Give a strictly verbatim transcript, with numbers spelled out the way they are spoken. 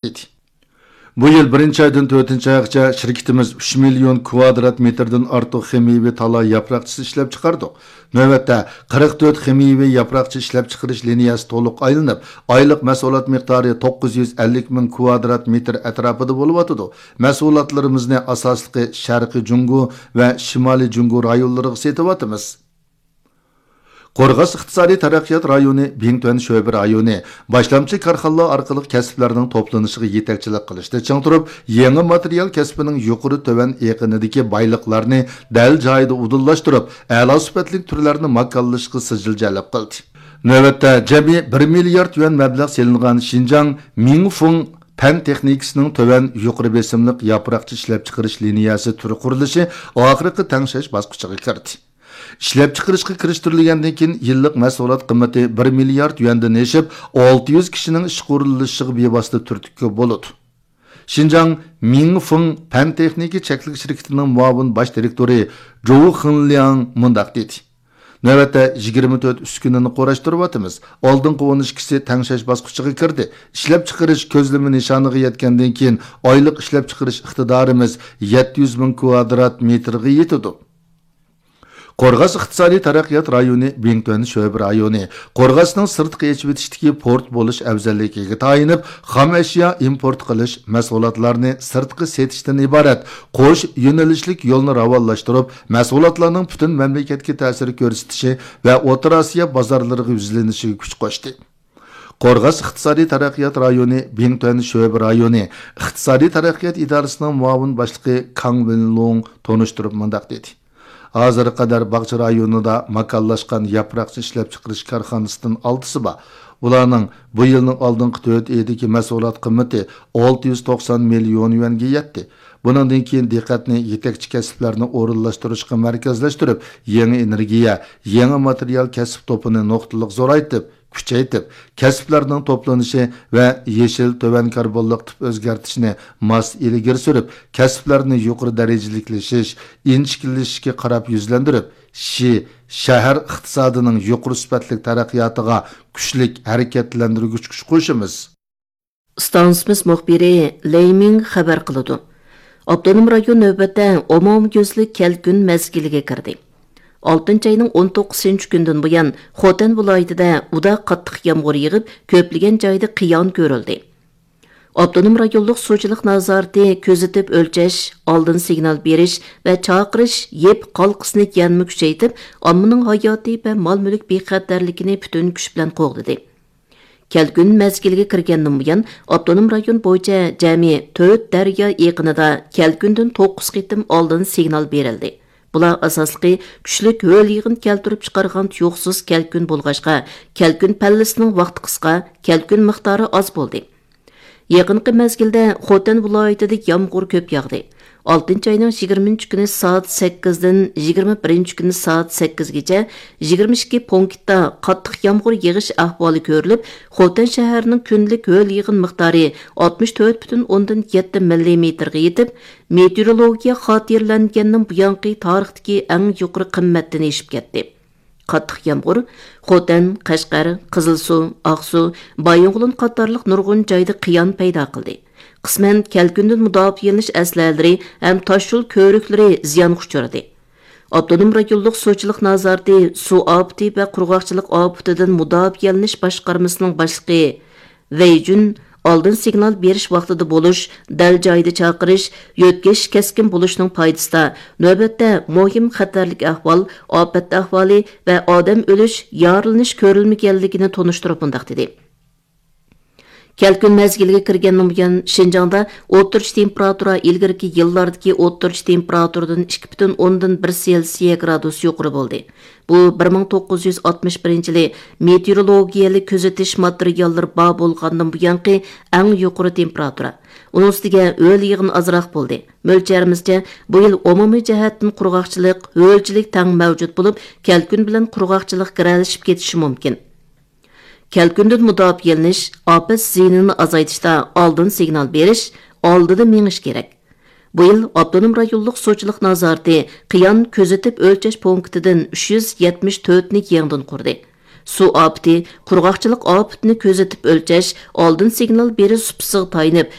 ئىدى. بۇ يىل بىرىنچى ئايدىن تۆتىنچى ئايغىچە شىركىتىمىز ئۈچ مىليون كۋادرات مېتىردىن ئارتۇق خىمىيەۋى تالا ياپراقچىسى ئىشلەپچىقاردۇق. نۆۋەتتە قىرىق تۆت خىمىيەۋى ياپراقچە ئىشلەپچىقىرىش لىنىيەسى تولۇق ئايلىنىپ، ئايلىق مەھسۇلات مىقدارى توققۇز يۈز ئەللىك مىڭ كۋادرات مېتىر ئەتراپىدا بولۇۋاتىدۇ. مەھسۇلاتلىرىمىزنى ئاساسلىقى شەرقىي جۇڭگو ۋە شىمالىي جۇڭگو رايونلىرىغا سېتىۋاتىمىز. قورغاس ئىقتىسادىي تەرەققىيات رايونى بىڭتۈەن شۆبە رايونى باشلامچى كارخانىلار ئارقىلىق كەسىپلەرنىڭ توپلىنىشىغا يېتەكچىلىك قىلىشتا چىڭ تۇرۇپ، يېڭى ماتېرىيال كەسپىنىڭ يۇقىرى تۆۋەن ئېقىنىدىكى بايلىقلارنى دەل جايىدا ئۇدۇللاشتۇرۇپ، ئەلا سۈپەتلىك تۈرلەرنى ماكانلىشىشقا سىجىل جەلپ قىلدى. نۆۋەتتە جەمئىي بىر مىليارد يۈەن مەبلەغ سېلىنغان شىنجاڭ مىڭفېڭ پەن تېخنىكىسىنىڭ تۆۋەن يۇقىرى بېسىملىق ياپراقچە ئىشلەپچىقىرىش لىنىيەسى تۈر قۇرۇلۇشى ئاخىرقى تەڭشەش باسقۇچىغا كىردى. ئىشلەپچىقىرىشقا كىرىشتۈرۈلگەندىن كېيىن، يىللىق مەھسۇلات قىممىتى بىر مىليارد يۈەندىن ئېشىپ، ئالتە يۈز كىشىنىڭ ئىشقا ئورۇنلىشىشىغا بىۋاسىتە تۈرتكە بولىدۇ. شىنجاڭ مىڭفېڭ پەن تېخنىكا چەكلىك شىركىتىنىڭ مۇئاۋىن باش دىرېكتورى جوۋ خېنلياڭ مۇنداق دېدى: نۆۋەتتە يىگىرمە تۆت ئۈسكۈنىنى قۇراشتۇرۇۋاتىمىز. ئالدىنقى ئون ئىككىسى تەڭشەش باسقۇچىغا كىردى. ئىشلەپچىقىرىش كۆزلىمە نىشانىغا يەتكەندىن كېيىن، ئايلىق ئىشلەپچىقىرىش ئىقتىدارىمىز يەتتە يۈز مىڭ كۋادرات مېتىرغا يېتىدۇ. قورغاس ئىقتىسادىي تەرەققىيات رايونى بىڭتۈەن شۆبە رايونى قورغاسنىڭ سىرتقا ئېچىۋېتىشتىكى پورت بولۇش ئەۋزەللىكىگە تايىنىپ، خام ئەشيا ئىمپورت قىلىش، مەھسۇلاتلارنى سىرتقا سېتىشتىن ئىبارەت قوش يۆنىلىشلىك يولنى راۋانلاشتۇرۇپ، مەھسۇلاتلارنىڭ پۈتۈن مەملىكەتكە تەسىر كۆرسىتىشى ۋە ئوتتۇرا ئاسىيا بازارلىرىغا يۈزلىنىشىگە كۈچ قوشتى. قورغاس ئىقتىسادىي تەرەققىيات رايونى بىڭتۈەن شۆبە رايونى ئىقتىسادىي تەرەققىيات ئىدارىسىنىڭ مۇئاۋىن باشلىقى كاڭ ۋېنلۇڭ تونۇشتۇرۇپ مۇنداق دېدى: ھازىرغا قەدەر باغچە رايونىدا ماكانلاشقان ياپراقچە ئىشلەپچىقىرىش كارخانىسىدىن ئالتىسى بار. بۇلارنىڭ بۇ يىلنىڭ ئالدىنقى تۆت ئېيىدىكى مەھسۇلات قىممىتى ئالتە يۈز توقسان مىليون يۈەنگە يەتتى. بۇنىڭدىن كېيىن دىققەتنى يېتەكچى كەسىپلەرنى ئورۇنلاشتۇرۇشقا مەركەزلەشتۈرۈپ، يېڭى ئېنېرگىيە، يېڭى ماتېرىيال كەسىپ توپىنى نۇقتىلىق زورايتىپ، كۈچەيتىپ، كەسىپلەرنىڭ توپلىنىشى ۋە يېشىل تۆۋەن كاربونلۇق تىپ ئۆزگەرتىشنى ماس ئىلگىرى سۈرۈپ، كەسىپلەرنى يۇقىرى دەرىجىلىكلىشىش، ئىنچىكىلىشىشكە قاراپ يۈزلەندۈرۈپ، شى، شەھەر ئىقتىسادىنىڭ يۇقىرى سۈپەتلىك تەرەققىياتىغا كۈچلۈك ھەرىكەتلەندۈرگۈچ كۈچ قوشىمىز. ئىستانسىمىز مۇخبىرى لېي مىڭ خەۋەر قىلىدۇ. ئاپتونوم رايون نۆۋەتتە ئومۇميۈزلۈك كەلكۈن مەزگىلىگە كىردى. ئالتىنچى ئاينىڭ ئون توققۇزىنچى كۈنىدىن بۇيان، خوتەن ۋىلايىتىدە ئۇدا قاتتىق يامغۇر يېغىپ، كۆپلىگەن جايدا قىيان كۆرۈلدى. ئاپتونوم رايونلۇق سۇچىلىق نازارىتى كۆزىتىپ ئۆلچەش، ئالدىن سىگنال بېرىش ۋە چاقىرىش يىپ ھالقىسىنى يەنىمۇ كۈچەيتىپ، ئاممىنىڭ ھاياتى ۋە مال-مۈلۈك بىخەتەرلىكىنى پۈتۈن كۈچ بىلەن قوغدىدى. كەلكۈن مەزگىلىگە كىرگەندىن بۇيان، ئاپتونوم رايون بويىچە جەمئىي تۆت دەريا ئېقىنىدا كەلكۈندىن توققۇز قېتىم ئالدىن سىگنال بېرىلدى. بۇلار ئاساسلىقى كۈچلۈك ھۆل يېغىن كەلتۈرۈپ چىقارغان تۇيۇقسىز كەلكۈن بولغاچقا، كەلكۈن پەللىسىنىڭ ۋاقتى قىسقا، كەلكۈن مىقدارى ئاز بولدى. يېقىنقى مەزگىلدە خوتەن ۋىلايىتىدە يامغۇر كۆپ ياغدى. ئالتىنچى ئاينىڭ يىگىرمىنچى كۈنى سائەت سەككىزدىن يىگىرمە بىرىنچى كۈنى سائەت سەككىزگىچە يىگىرمە ئىككى پونكىتتا قاتتىق يامغۇر يېغىش ئەھۋالى كۆرۈلۈپ، خوتەن شەھىرىنىڭ كۈندىلىك ھۆل يېغىن مىقدارى ئاتمىش تۆت پۈتۈن ئوندىن يەتتە مىللىمېتىرغا يېتىپ، مېتېئورولوگىيە خاتىرىلەنگەندىن بۇيانقى تارىختىكى ئەڭ يۇقىرى قىممەتتىن ئېشىپ كەتتى. قاتتىق يامغۇر خوتەن، قەشقەر، قىزىلسۇ، ئاقسۇ، بايىنغولىن قاتارلىق نۇرغۇن جايدا قىيان پەيدا قىلدى. قىسمەن كەلكۈندىن مۇداپىئەلىنىش ئەسلىھەلىرى ھەم تاشيول كۆۋرۈكلىرى زىيانغا ئۇچرىدى. ئاپتونوم رايونلۇق سۇچىلىق نازارىتى سۇ ئاپىتى ۋە قۇرغاقچىلىق ئاپىتىدىن مۇداپىئەلىنىش باشقارمىسىنىڭ باشلىقى ۋېي جۈن ئالدىن سىگنال بېرىش ۋاقتىدا بولۇش، دەل جايىدا چاقىرىش، يۆتكىشىش كەسكىن بولۇشنىڭ پايدىسىدا، نۆۋەتتە مۇھىم خەتەرلىك ئەھۋال، ئاپەت ئەھۋالى ۋە ئادەم ئۆلۈش، يارىلىنىش كۆرۈلمىگەنلىكىنى تونۇشتۇرۇپ مۇنداق دېدى: كەلكۈن مەزگىلىگە كىرگەندىن بۇيان، شىنجاڭدا ئوتتۇرىچە تېمپېراتۇرا ئىلگىرىكى يىللاردىكى ئوتتۇرىچە تېمپېراتۇرىدىن ئىككى پۈتۈن ئوندىن بىر سېلسىيە گرادۇس يۇقىرى بولدى. بۇ بىر مىڭ توققۇز يۈز ئاتمىش بىرىنچى يىلى مېتېئورولوگىيەلىك كۆزىتىش ماتېرىياللىرى بار بولغاندىن بۇيانقى ئەڭ يۇقىرى تېمپېراتۇرا. ئۇنىڭ ئۈستىگە ھۆل يېغىن ئازراق بولدى. مۆلچەرىمىزچە، بۇ يىل ئومۇمىي جەھەتتىن قۇرغاقچىلىق، ھۆلچىلىك تەڭ مەۋجۇت بولۇپ، كەلكۈن بىلەن قۇرغاقچىلىق گىرەلىشىپ كېتىشى مۇمكىن. كەلكۈندىن مۇداپىئەلىنىش، ئاپەت زىيىنىنى ئازايتىشتا ئالدىن سىگنال بېرىش، ئالدىدا مېڭىش كېرەك. بۇ يىل ئاپتونوم رايونلۇق سۇچىلىق نازارىتى قىيان كۆزىتىپ ئۆلچەش پونكىتىدىن ئۈچ يۈز يەتمىش تۆتنى يېڭىدىن قۇردى. سۇ ئاپىتى، قۇرغاقچىلىق ئاپىتىنى كۆزىتىپ ئۆلچەش، ئالدىن سىگنال بېرىش سۇپىسىغا تايىنىپ،